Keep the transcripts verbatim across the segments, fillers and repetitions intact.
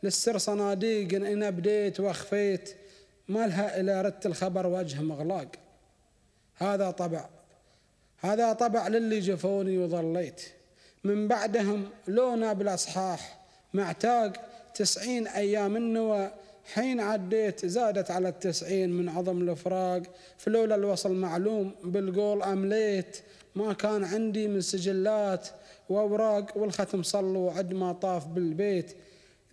للسر صناديق إن أبديت وأخفيت، ما لها إلى ردت الخبر وجه مغلاق. هذا طبع هذا طبع للي جفوني وظليت من بعدهم لونا بالأصحاح معتاق تسعين أيام النوى، حين عديت زادت على التسعين من عظم الفراق. فلولا الوصل معلوم بالقول أمليت، ما كان عندي من سجلات وأوراق، والختم صلوا عد ما طاف بالبيت.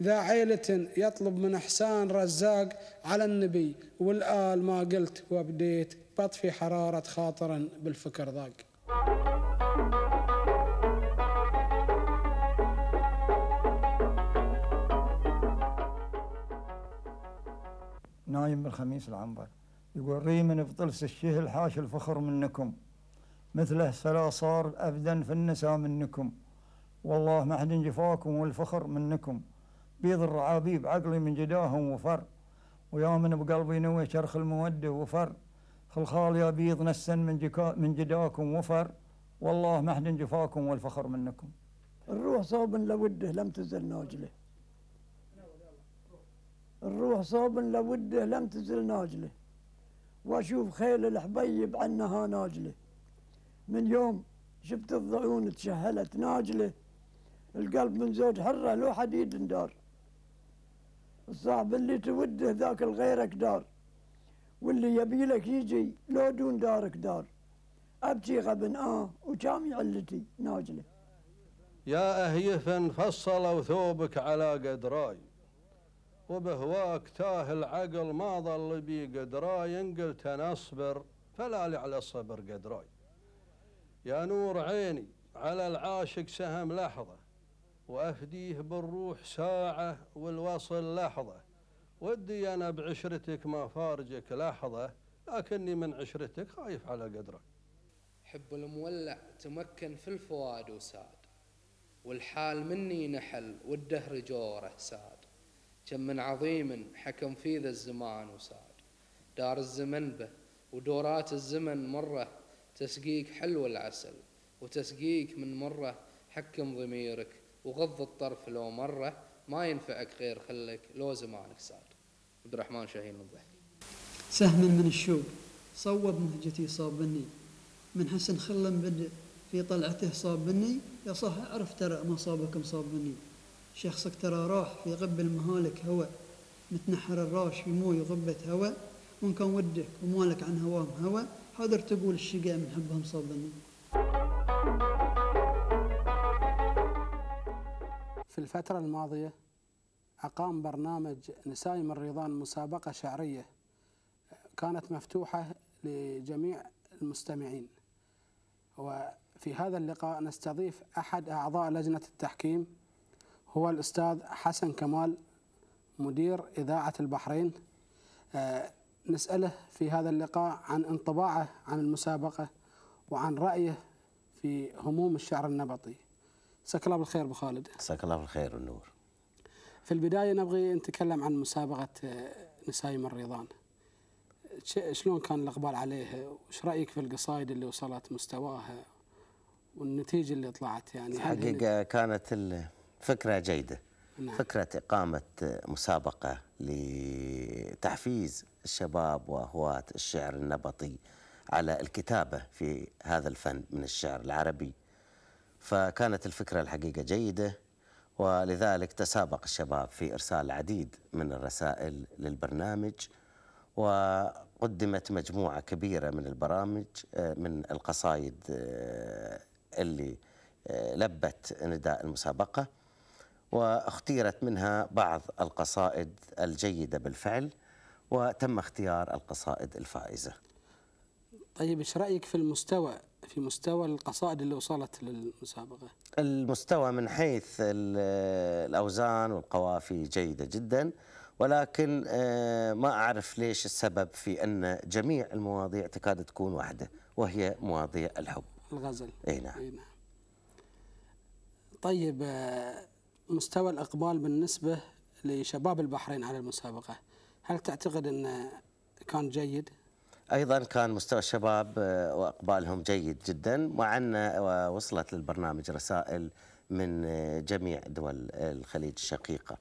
ذا عيلة يطلب من إحسان رزاق على النبي والآل، ما قلت وابديت بطفي حرارة خاطرا بالفكر ضاق. نايم بالخميس العنبر يقول ريمن بطلس الشهل حاش الفخر منكم، مثله فلا صار أبدا في النساء منكم، والله ما حد جفاكم والفخر منكم، بيض الرعابيب عقلي من جداهم وفر، ويا من بقلبي نوي شرخ المودة وفر، خلخال يا بيض نسن من, من جداكم وفر، والله ما حد جفاكم والفخر منكم. الروح صوب لوده لم تزل ناجله، الروح صوب لوده لم تزل ناجله، واشوف خيل الحبيب عنها ناجله، من يوم شفت الضعون تشهلت ناجله، القلب من زوج حره لو حديد دار، الصاحب اللي توده ذاك الغيرك دار، واللي يبيلك يجي لو دون دارك دار، ابكي غبن اه وجامي علتي ناجله. يا اهيفا فصلوا ثوبك على قدراي، وبهواك تاه العقل ما ظل بي قدراي، ان قلت انا اصبر فلا لي على الصبر قدراي. يا نور عيني على العاشق سهم لحظة، وافديه بالروح ساعة والوصل لحظة، ودي انا بعشرتك ما فارجك لحظة، لكني من عشرتك خايف على قدرك. حب المولع تمكن في الفؤاد وساد، والحال مني نحل والدهر جوره ساد، كم من عظيم حكم في ذا الزمان وساد، دار الزمن به ودورات الزمن مرة، تسقيك حلو العسل وتسقيك من مرة، حكم ضميرك وغض الطرف لو مرة، ما ينفعك غير خلك لو زمانك ساد. عبد الرحمن شاهين الضحك. سهم من الشوق صوب مهجتي صابني، من حسن خلم بدء في طلعته صابني، يا صح اعرف ترى ما صابك مصابني، شخصك ترى راح في غب المهالك هوى، متنحر الراش في موي غبة هوى، وان كان ودك ومالك عن هوام هوى، حاضر تقول الشقاء من حبهم صابني. في الفترة الماضية أقام برنامج نسايم الريضان مسابقة شعرية كانت مفتوحة لجميع المستمعين، وفي هذا اللقاء نستضيف أحد أعضاء لجنة التحكيم هو الأستاذ حسن كمال مدير إذاعة البحرين. أه نسأله في هذا اللقاء عن انطباعه عن المسابقة وعن رأيه في هموم الشعر النبطي. مساك الله بالخير أبو خالد. مساك الله بالخير والنور. في البداية نبغي نتكلم عن مسابقة نسايم الريضان، شلون كان الإقبال عليها، وش رأيك في القصائد اللي وصلت مستواها والنتيجة اللي طلعت؟ يعني حقيقة كانت الفكرة جيدة. نعم. فكرة إقامة مسابقة لتحفيز الشباب وهواة الشعر النبطي على الكتابة في هذا الفن من الشعر العربي، فكانت الفكرة الحقيقة جيدة، ولذلك تسابق الشباب في إرسال العديد من الرسائل للبرنامج، وقدمت مجموعة كبيرة من البرامج من القصائد اللي لبت نداء المسابقة، واختيرت منها بعض القصائد الجيدة بالفعل، وتم اختيار القصائد الفائزة. طيب ايش رأيك في المستوى في مستوى القصائد اللي وصلت للمسابقة؟ المستوى من حيث الأوزان والقوافي جيدة جدا، ولكن ما أعرف ليش السبب في أن جميع المواضيع تكاد تكون واحدة، وهي مواضيع الحب الغزل. أي نعم. أي نعم. طيب مستوى الإقبال بالنسبة لشباب البحرين على المسابقة، هل تعتقد أنه كان جيد؟ أيضا كان مستوى الشباب وإقبالهم جيد جدا، مع أن وصلت للبرنامج رسائل من جميع دول الخليج الشقيقة.